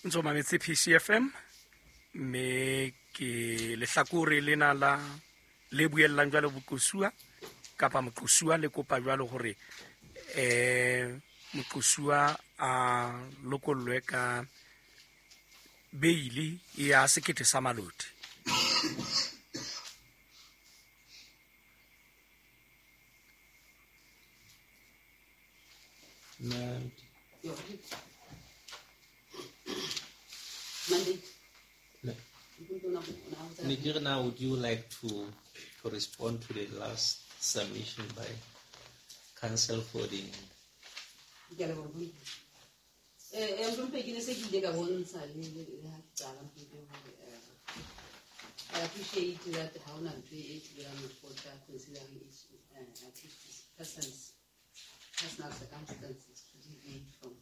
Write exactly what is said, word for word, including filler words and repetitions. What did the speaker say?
O ntso mametse P C F M, mme ke lehlakore lena la le buellang jwalo boqosuwa kapa moqosuwa le kopa jwalo hore eh moqosuwa a lokollwe ka beili ya sekete sa maloti. Ma'am, Mandate. No. Nigirna, would you like to, to respond to the last submission by counsel for the Ke a leboha, Mohlomphehi. Eh, eh, Mohlomphehi, ke ne se ke ile ka bontsha le le le ha ke qala, Mohlomphehi, hore eh, I appreciate that ha hona ntho e thibelang lekgotla considering each uh, each person's personal circumstances to deviate from